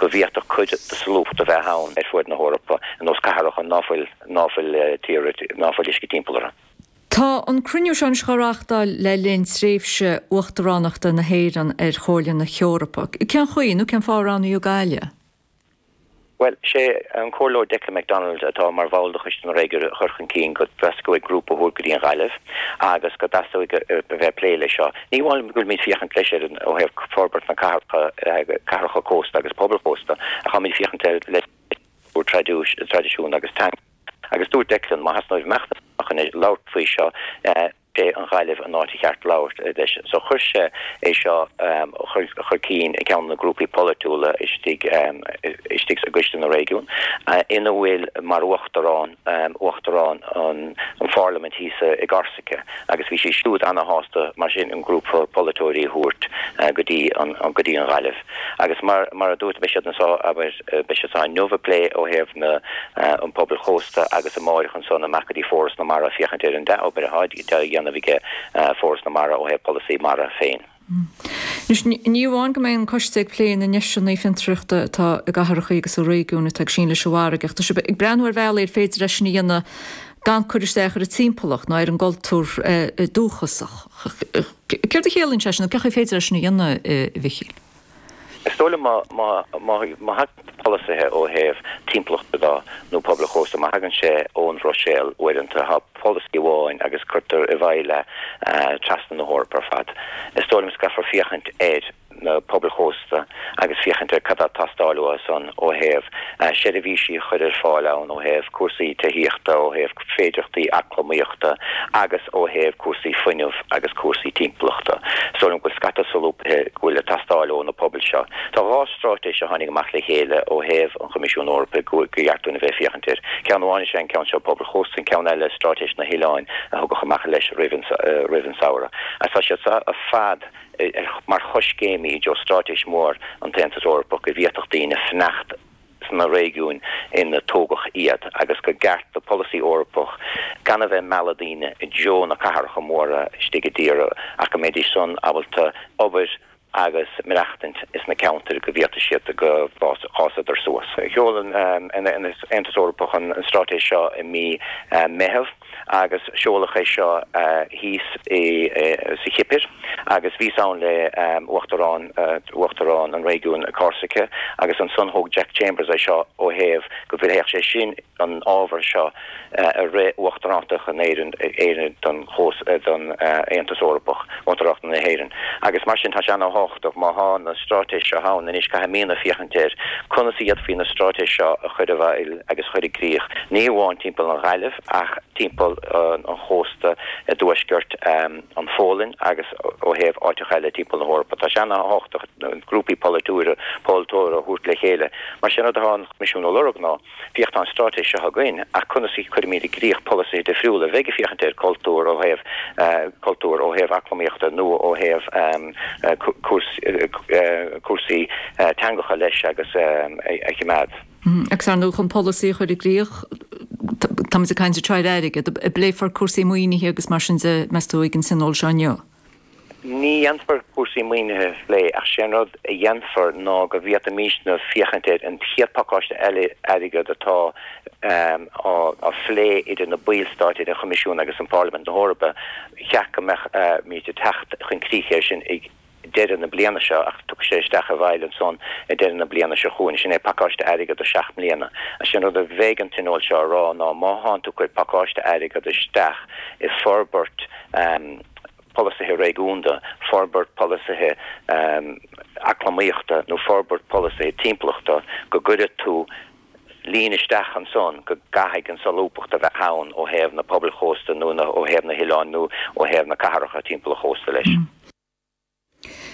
Go bhféadfadh cuid de solúbthacht a bheith ann ar fuaid na hEorpa, ar nós cathracha ná fuil, ná fuil tír, ná fuil uisce timpeall orthu. Tá an cruinniú seo anois á reáchtáil le linn tréimhse uachtaránachta na hÉireann ar Chomhairle na hEorpa. Cén chaoi, nó cén fáth a roghnaíodh Gaillimh? Bhuel, sé an Comhairleoir Declan McDonald atá mar bhall de Choiste na Réigiún a chuir chun cinn go dteastóidh grúpa a thabhairt go dtí an Ghaillimh agus go dteastóidh a bheith ag plé leis seo. Ní amháin go bhfuilimid féachaint leis ar an ó thaobh forbairt na cathracha, cathracha cósta agus pobail chósta ach táimid féachaint ar le traidisiún agus teanga. Agus dúirt Declan, má theastaíonn uaibh imeacht amach chun labhairt faoi seo, sé an Ghaillimh an áit cheart labhairt leis. So chuir sé é seo chun cinn i gceann de na grúpaí polaitiúla istigh istigh i gCoiste na Réigiún ina bhfuil mar uachtarán uachtarán an pharlaimint thíos i gCorsaice agus bhí sí siúd ana-shásta mar sin an grúpa polaiteoirí a thabhairt go dtí an go dtí an Ghaillimh. Agus mar mar a dúirt beidh siad anso abair beidh siad anso inniu ag plé ó thaobh na an pobail chósta agus amáireach ansan amach go dtí Foras na Mara féachaint ar an dea-obair atá á dhéanamh aige Foras na Mara ó thaobh polasaí mara féin. Anois, ní amháin go mbeidh an coiste ag plé na ndeiseanna fiontraíochta atá i gcathracha agus i réigiúin atá ag síneadh leis an bhfarraige ach tá sibh ag breathnú ar bhealaí ar féidir é sin a dhéanamh gan cur isteach ar an timpeallacht ná ar an gcultúr dúchasach. Céard a chiallaíonn sé sin nó cén chaoi féidir é sin a dhéanamh, a Mhichíl? Is dóigh liom má má má thagann polasaithe ó thaobh timpeallachta de nó pobail chósta, má thagann sé ón Bhruiséil uaireanta, tá polasaí amháin agus cuirtear i bhfeighil é trasna na hEorpa ar fad. Is dóigh liom caithfear féachaint ar na pobail chósta agus féachaint ar cad atá ag teastáil uathu san ó thaobh seirbhísí a chur ar fáil ann, ó thaobh cúrsaí tithíochta, ó thaobh féidearthachtaí eacnamaíochta agus ó thaobh cúrsaí fuinnimh agus cúrsaí timpeallachta. Is dóigh liom go bhfuil scata solúbtha go bhfuil ag teastáil ó na pobail seo. Tá 2 straitéis a tháinig amach le chéile ó thaobh an Choimisiúin Eorpaigh go gceart dúinn a bheith ag féachaint air. Ceann amháin is ea an ceann seo Pobail Chósta, an ceann eile Straitéis na hOileáin a thugadh amach leis roimh an samhradh. Agus tá siad seo ar fad mar choiscéimí i dtreo straitéis mhór an tAontas Eorpach go bhféadfadh daoine fanacht sna réigiúin ina tógadh iad agus go gceart do polasaí Eorpach gan a bheith ag mealladh daoine i dtreo na cathracha móra istigh i dtír ach go mbeidís san ábalta obair agus maireachtaint sna ceantair go bhféadfaidh siad go bhfásadar suas. Sheol an Aontas Eorpach an straitéis seo i mí Meitheamh agus seoladh é seo thíos sa Chipir agus bhíos ann le Uachtarán Uachtarán an réigiúin Corsica agus ansan thóg Jack Chambers é seo ó thaobh go bhféadfadh sé sin an ábhar seo i rith Uachtaránacht na hÉireann don don Aontas Eorpach, Uachtaránacht na hÉireann. Agus mar sin tá sé ana-thábhachtach má thá na straitéis seo ann anois caithfimídne féachaint ar conas a d'fhéadfaí na straitéis seo a chur i bhfeighil agus a chur i gcrích, ní amháin timpeall an Ghaillimh ach timpeall an chósta i dtuaisceart an Pholainn agus ó thaobh áiteacha eile timpeall na hEorpa. Tá sé ana-thábhachtach grúpaí polaitiúra polaiteora a thabhairt le chéile. Mar sin rud atá an Coimisiún a lorg ná Féach, tá an straitéis seo againn, ach conas a chuirimid i gcrích polasaithe difriúla a bheidh ag féachaint ar cultúr ó thaobh cultúr, ó thaobh eacnamaíochta nó ó thaobh cúrsaí teangacha leis agus a choimeád. Agus ar ndóigh, chun polasaí a chur i gcrích, táimid ag caint anseo ar airgead. An bpléifear cúrsaí maoinithe agus mar sin de, meas tú, ag an tionól seo inniu? Ní dhéanfar cúrsaí maoinithe a phlé ach sé an rud a dhéanfar ná go bhféadfaimísne féachaint ar an chéad pacáiste eile airgead atá á phlé idir na ballstáit, idir an Choimisiún agus an Pharlaimint na hEorpa. Cheart go mbeadh muid ag teacht chun críche air sin ag deireadh na bliana seo ach tiocfaidh sé isteach i bhfeighil ansan ag deireadh na bliana seo chugainn. Sin é pacáiste airgead do sheacht mbliana. Sé an rud a bheidh an tionól seo a rá ná má thánn tú ag cur pacáiste airgead isteach i forbairt polasaithe réigiúnda, forbairt polasaithe eacnamaíochta nó forbairt polasaithe timpeallachta, go gcuirfidh tú líne isteach ansan go gcaithfidh an solúbthacht a bheith ann ó thaobh na pobail chósta nó ó thaobh na hoileáin nó ó thaobh na cathracha timpeall an chósta leis.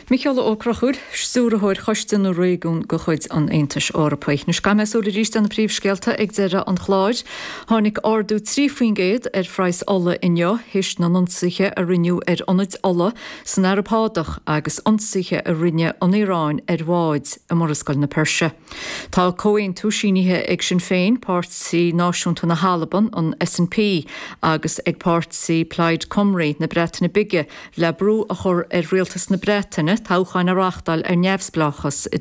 Micheál Ó Conchúir, Stiúrthóir Choiste na Réigiún de chuid an Aontais Eorpaigh. Anois caithfidh mé súil arís ar na príomhscéalta ag deireadh an chláir. Tháinig ardú 3% ar phraghas ola inniu théis na n-ionsaithe a rinneadh ar ionaid ola san Araib Shádach agus ionsaithe a rinne an Iaráin ar bháid i Murascaill na Peirse. Tá comhaontú sínithe ag Sinn Féin, Páirtí Náisiúnta na hAlban, an SNP, agus ag páirtí Plaid Cymru na Breataine Bige le brú a chur ar rialtas na Breataine toghcháin a reáchtáil ar neamhspleáchas i.